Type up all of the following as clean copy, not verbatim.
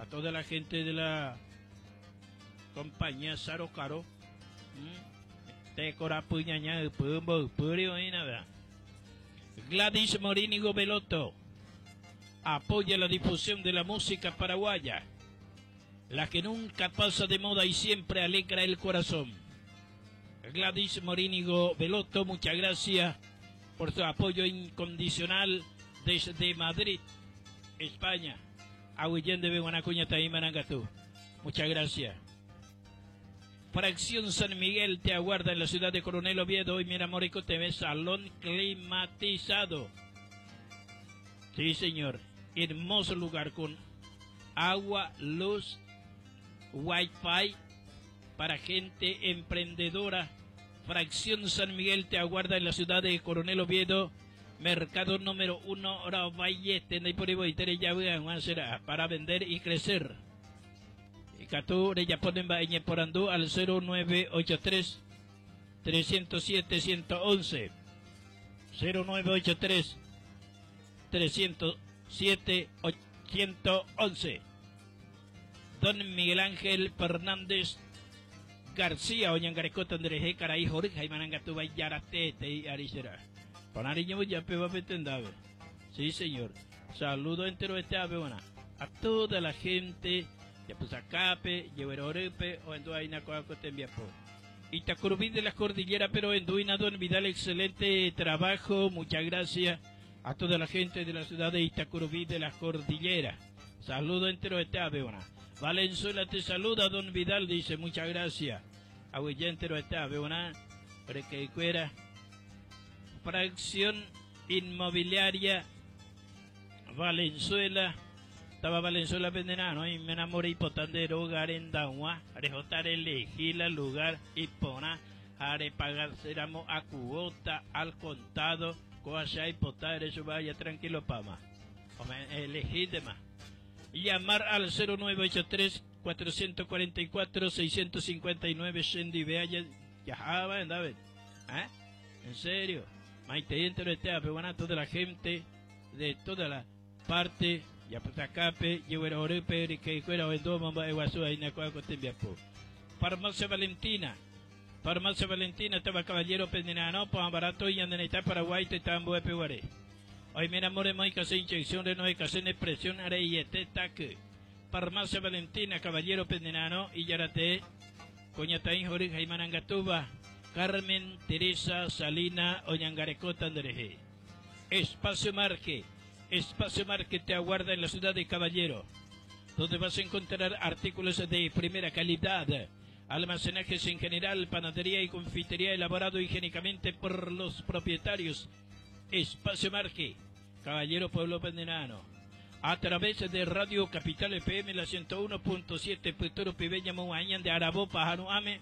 A toda la gente de la compañía Saro Caro. Tekorapy ñaña ypy mboypýri oĩna vera. Gladys Morínigo Belotto apoya la difusión de la música paraguaya, la que nunca pasa de moda y siempre alegra el corazón. Gladys Morínigo Belotto, muchas gracias por su apoyo incondicional desde Madrid, España. Aguyje ndéve g̃uarã kuñataĩ marangatu. Muchas gracias. Fracción San Miguel te aguarda en la ciudad de Coronel Oviedo y mira TV salón climatizado. Sí, señor. Hermoso lugar con agua, luz, wifi para gente emprendedora. Fracción San Miguel te aguarda en la ciudad de Coronel Oviedo. Mercado número 1, Valle, para vender y crecer. Ikatu rejapo ne mba'e ñeporandu al 0983 307 111. 0983 307 111. Don Miguel Ángel Fernández García oñangarekóta nderehe karai hory ha imarangatu ijarate arisera. Panariño ya peba petendave. Sí, señor. Saludo entero este ave a toda la gente Yapysakápe, Jeguerorýpe, ohendu'aína ko'ã ko tembiapo. Itacurubí de la Cordillera, pero enduina Don Vidal, excelente trabajo, muchas gracias a toda la gente de la ciudad de Itacurubí de la Cordillera. Saludo entero este ave, Valenzuela te saluda, Don Vidal, dice, muchas gracias. Aguyje entero este ave, Requeicuera. Fracción Inmobiliaria Valenzuela. Táva Valenzuela pendera'arõ oiméramo reipota nde róga rendag̃ua, rehóta relehi la lugar iporã ha repagaséramo a cuota, al contado, kóva che aipota ere chupe aja tranquilopáma. Ome'ẽ elehíntema. Llamar al 0983 444 659 chendive aja jaháva hendápe. ¿Eh? En serio. Maitei enteroite ápe guarã toda la gente de toda la parte Japytakápe, Jeguerohorýpe, ryke'ykuéra ohendu omomba'eguasu aína ko'ã ko tembiapo. Farmacia Valentina. Farmacia Valentina táva Caballero penera'arõ pohã barato ñane retã Paraguái tetã ambuépe guare. Oiméramo remoĩkase inyección renohẽkase ne presión are'iete taky. Farmacia Valentina Caballero penera'arõ ijaratee kuñataĩ hory ha imarangatúva Carmen Teresa Salina oñangarekóta nderehe. Espacio Marque. Espacio Marque te aguarda en la ciudad de Caballero, donde vas a encontrar artículos de primera calidad, almacenajes en general, panadería y confitería elaborado higiénicamente por los propietarios. Espacio Marque, Caballero Pueblo Pendenano. A través de Radio Capital FM, la 101.7, Puturo Pibeña Muañan de Arabo, Pajano Ame,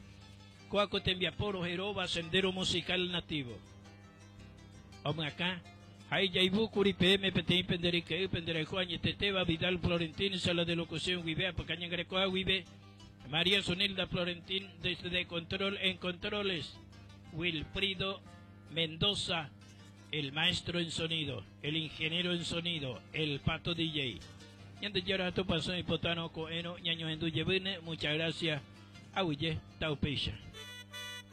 Coaco Tembiaporo, Jeroba, Sendero Musical Nativo. Omyakã, ha ijaivúkuri peẽme peteĩ pende ryke'y pende rayhu añetetéva Vidal Florentín, sala de locución guive, apyka ñangarekoha guive, María Zunilda Florentín, desde control en controles, Wilfrido Mendoza, el maestro en sonido, el ingeniero en sonido, el pato DJ. Ñandejára ha Tupãsy oipotárõ ko'ẽrõ ñañohendu jevýne, muchas gracias, aguyje, taupéicha.